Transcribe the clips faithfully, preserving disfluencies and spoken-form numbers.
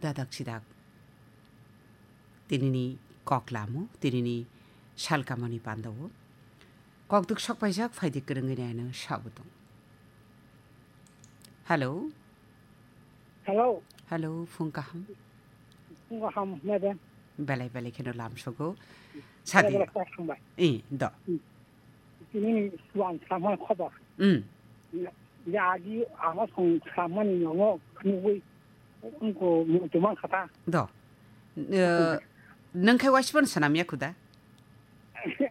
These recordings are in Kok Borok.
dadak sidak tinini kok lamo, tinini salkamani pandao. Kok duk sok paijak, phaidi kwrwngwi naino sabo tong. Hello? Hello. Hello, phung kaham? Phung kaham, nede? Belai belai kheno lam sogo. Belai Sadi. Belai kok hambai. Eh, do. Hmm. Tini ni suang samani khobor. Hmm. Ya, ya, agi ama song samani nongo nugui. Wngkho muchung man kha ta. Do. Eh, nwng khai waisipano swnam ya khuda?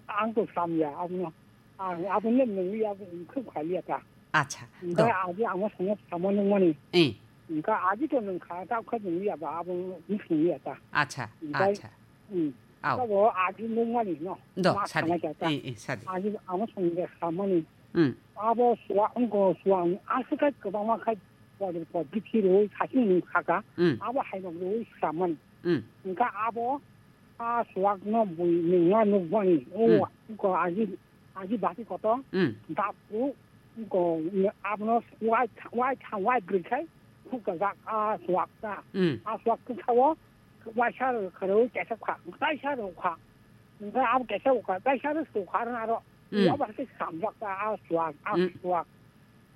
Ang to swnam ya, abono. Ang abono nwngwi abo khub khali ya ta. Acha, do. Wngkha agi ang swnam samo nungmani. Eh. Wngkha agi to nwng kha ta kha nwngwi ya ba abo nwng ya ta. Acha, wngkha, acha. Hmm. Au. Abo agi nungmani no. Do, ma sadi. Sana ya ta. Eh, eh, sadi. Agi ang swnam ya samani. Hmm. Abo suwa wngkho suwa aswk kwbangma khai Pore pore bithi rwi sasing nung saka. Mm. Abo hai rok rwi samani. Mm. Wngkha abo a suwak no bui nungma nukmani. O, mm, ko aji, aji bati koto. Mm. Dapku ko abono wai, wai tha, wai brwi khai khuk ka jak a suwak ta. Mm. A suwak khe sao waisa rwi kharwi kesa kha. Kaisa rwi kha. Wngkha abo kesa kha. Kaisa rwi su kha rwna aro. Mm. Abo hai khe samjak ta a suwak, a, mm, suwak.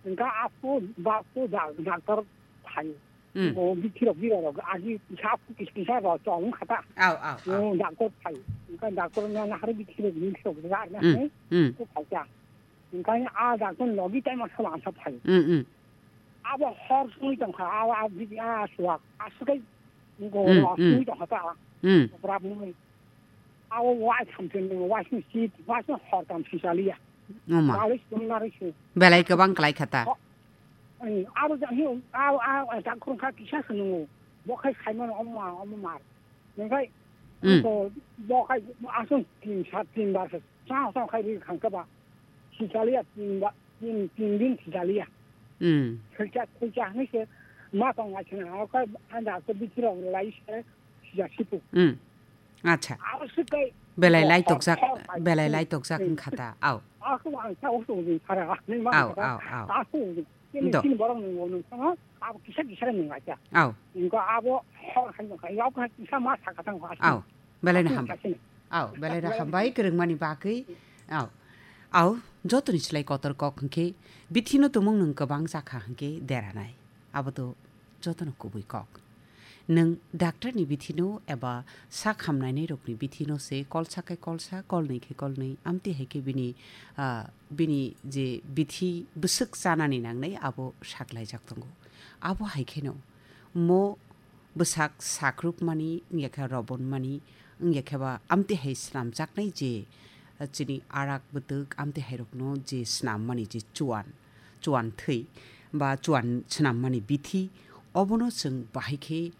Wngkha aphuru, ba aphuru da-, doctor phaio. Hmm. O bithi rok bira rok agi kisa aphuru kis-, kisa rok chong wngkha ta. Au, au, au. O doctor phaio. Wngkha doctor no nahar bithi rok, bithi rok jar na, hmm, hai, hmm, ko phaikha. Wngkha a doctor logi tai ma sala sa phaio. Hmm, hmm. Abo hor sui tongkha, a, a, bithi, a, suwak, a, sukai, ko, hmm, a, hmm, sui tongkha ta. Hmm. Prab nung. Abo wai thamsini, waisini sit, waisini hortam sisaliya. Oma. Walis tumnari si. Belai kwbang klai kha ta. Ho-, ani, abo ja-, hi, abo, abo, abo, ja khurung kha kisa se nungo. Bo khai saimano omo ma, omo mar. Nengkai, mm, to bo khai asung tin sat tin bar se. Sa, sa khai ri khang kha ba. Sisaliya tin ba, tin, tin din sisaliya. Mm. Khacha, khacha ni se ma tong ai se na. Abo khai anda to bichiro lai se. Sijak sipu. Hmm. Acha. Abo se kai. Belai lai tokjak, belai lai tokjak wngkha ta. Au. Ako ang sa usu usu para. Au, au, au. Ako usu. Kini, do, kini borok nung nung sama. Abo kisa kisa nung acha. Au. Inko abo hor hai nung kai. Abo kisa ma sa katang ko. Au. Belai na ham. Au, belai na hambai kwrwngmani bagwi. Au. Au, jotoni slai kotor kok hwnkhe bithino tumung nung kwbang jakha hwnkhe deranai. Abo to jotono kubui kok. Nwng doctor ni bithino eba sak hamnainairokni bithino se kolsa kai kolsa, kolnwi kai kolnwi, amtwi hai khe bini, ah, bini je bithi bwswk chanani nangnai abo saklaijak tongo. Abo hai kheno mo bwsak sakrupmani, wngya khe robonmani, wngya khe ba amtwi hai snamjaknai je, ah, chini arak bwtwk amtwi hairokno je snammani je chuan, chuan thwi ba chuan swnammani bithi, obono chwng bahai khe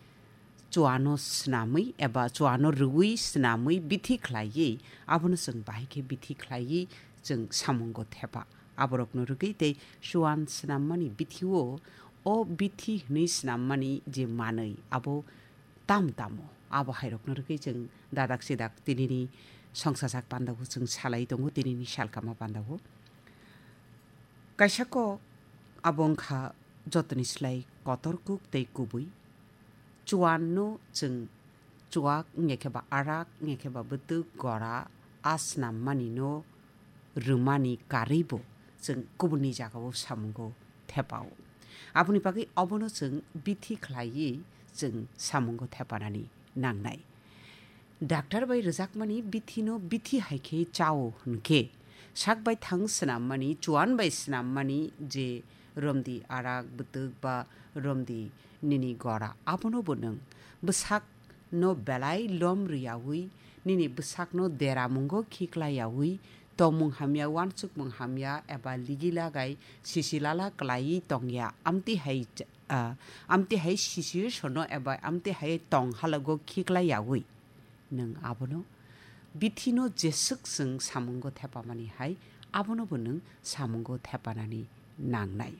chuano swnamwi eba chuano rwui swnamwi bithi khlaiwi, abono chwng bahai khe bithi khlaiwi chwng samungo thepa. Aborokno rwgwi tei chuan swnammani bithi-o, o bithi hwnwi swnammani je manwi, abo tam tamo? Abo hairokno rwgwi chwng dadak sidak tinini songsajak pandao chwng salai tongo, tinini salkama pandao. Kaisa kok abo wngkha jotoni slai kotor kuk tei kubui. Chuanno chwng chuak wngya khe ba arak wngya khe ba bwtwk gora a snammanino rwmani karwibo chwng kubunni jagao samungo thepao. Aboni bagwi obono chwng bithi khlaiwi chwng samungo thepanani nangnai. Doctor bai rwjakmani bithino bithi hai khe chao hwn khe, sak bai thang swnammani, chuan bai swnammani je romdi arak bwtwk ba romdi nini gora, abono bo nwng bwsakno belai lom rwyaui, nini bwsakno deramungo khiklaiyaui, tongmung hamya, uansukmung hamya eba ligi lagai sisi lala klaiwi tongya, amtwi hai, ah, amtwi hai situation-o eba amtwi hai tong halogo khiklaiyaui. Nwng abono bithino jeswk chwng samungo thepamani hai, abono bo nwng samungo thepanani nangnai.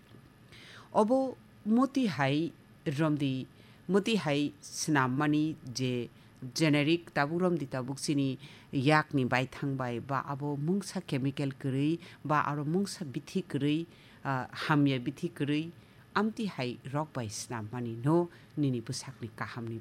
Obo muti hai romdi, muti hai swnammani je generic tabuk romdi tabuk chini yakni baithang bai ba abo mungsa chemical kwrwi ba aro mungsa bithi kwrwi, ah, hamya bithi kwrwi, amtwi hai rok bai swnammani no nini bwsakni kahamni